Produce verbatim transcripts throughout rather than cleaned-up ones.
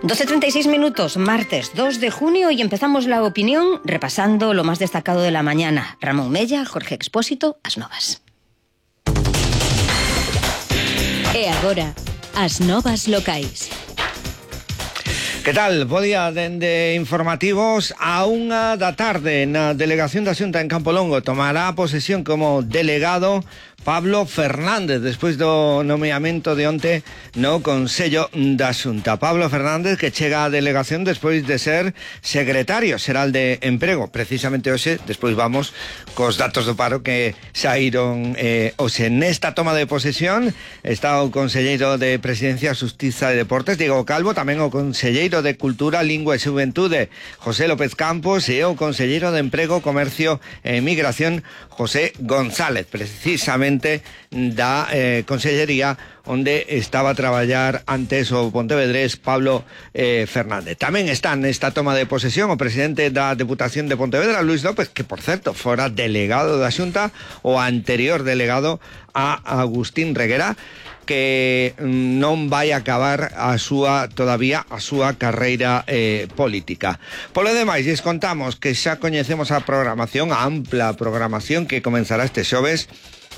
doce treinta y seis minutos, martes dos de junio, y empezamos la opinión repasando lo más destacado de la mañana. Ramón Mella, Jorge Expósito, As Novas. E agora, As Novas locais. Que tal? Bo día dende informativos. A unha da tarde na delegación da Xunta en Campolongo tomará posesión como delegado Pablo Fernández, despois do nomeamento de onte no Consello da Xunta. Pablo Fernández, que chega á delegación despois de ser secretario xeral de Emprego. Precisamente hoxe, despois vamos cos datos do paro que saíron eh, hoxe. Nesta toma de posesión está o conselleiro de Presidencia, Xustiza e Deportes, Diego Calvo, tamén o conselleiro de Cultura, Lingua e Xuventude, José López Campos, e o conselleiro de Emprego, Comercio e Migración, José González, precisamente da eh, Consellería onde estaba a traballar antes o pontevedrés Pablo eh, Fernández. Tamén está nesta toma de posesión o presidente da Deputación de Pontevedra, Luis López, que, por certo, fora delegado da Xunta, o anterior delegado a Agustín Reguera, que non vai acabar a súa todavía a súa carreira eh, política. Polo demais, lles contamos que xa coñecemos a programación, a ampla programación que comenzará este xoves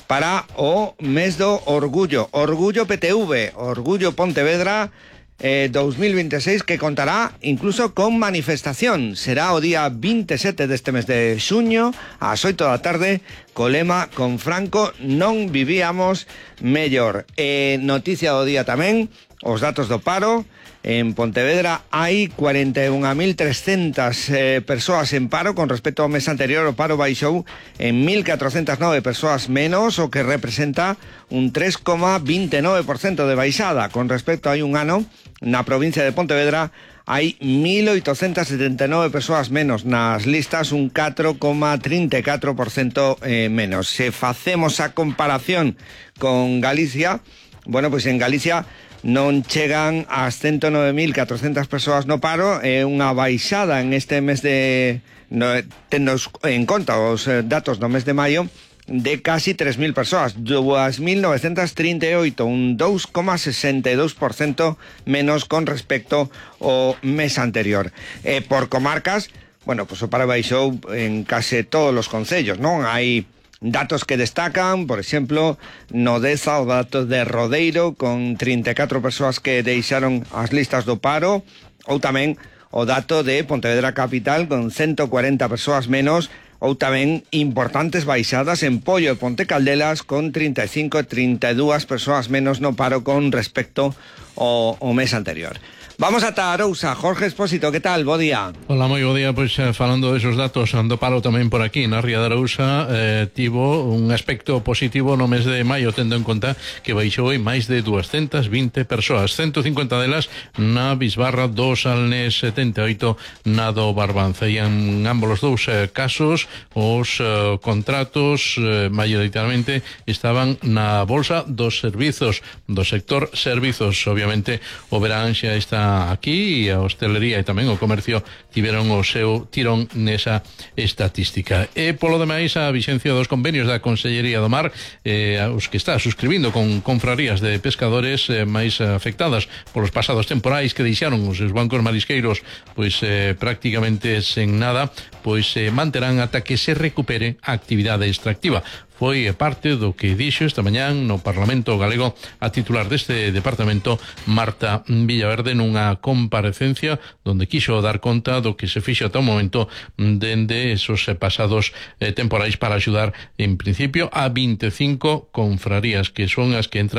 para o mes do Orgullo. Orgullo P T V, Orgullo Pontevedra eh, dos mil veintiséis, que contará incluso con manifestación. Será o día veintisiete deste mes de xuño, ás oito da tarde, co lema "Con Franco non vivíamos mellor". E noticia do día tamén, os datos do paro. En Pontevedra hai cuarenta e un mil trescentas eh, persoas en paro. Con respecto ao mes anterior, o paro baixou en mil catrocentas nove persoas menos, o que representa un tres coma veintinueve por ciento de baixada. Con respecto a hai un ano, na provincia de Pontevedra hai mil oitocentas setenta e nove persoas menos nas listas, un catro coma trinta e catro por ciento eh, menos. Se facemos a comparación con Galicia, bueno, pois en Galicia non chegan ás ciento nove mil catrocentas persoas no paro, é unha baixada en este mes de... No, tenos en conta os datos do mes de maio, de casi tres mil persoas, dous mil novecentas trinta e oito, un dos coma sesenta e dous por ciento menos con respecto ao mes anterior. E por comarcas, bueno, pues o paro baixou en case todos os concellos, non? Hai datos que destacan, por exemplo, no Deza, o dato de Rodeiro, con trinta e catro persoas que deixaron as listas do paro, ou tamén o dato de Pontevedra Capital, con ciento cuarenta persoas menos, ou tamén importantes baixadas en Pollo e Ponte Caldelas, con trinta e cinco e trinta e dúas persoas menos no paro con respecto ao, ao mes anterior. Vamos ata Arousa. Jorge Expósito, que tal? Bo día. Hola, moi bo día. Pois eh, falando desos datos, ando paro tamén por aquí na ría de Arousa, eh, tivo un aspecto positivo no mes de maio, tendo en conta que baixou en máis de doscientas vinte persoas, ciento cincuenta delas na Bisbarra, dos Alnes, setenta e oito na do Barbanza. E en ambos os dous eh, casos os eh, contratos eh, maioritariamente estaban na bolsa dos servizos, do sector servizos. Obviamente o verán xa está aquí, e a hostelería e tamén o comercio tiveron o seu tirón nesa estatística. E polo demais, a vixencia dos convenios da Consellería do Mar, eh, os que está suscribindo con confrarías de pescadores eh, máis afectadas polos pasados temporais, que deixaron os seus bancos marisqueiros pois eh, prácticamente sen nada, pois eh, manterán ata que se recupere a actividade extractiva. Foi parte do que dixo esta mañán no Parlamento Galego a titular deste departamento, Marta Villaverde, nunha comparecencia onde quixo dar conta do que se fixo ata o momento dende esos pasados eh, temporais para axudar en principio a veinticinco confrarías, que son as que entran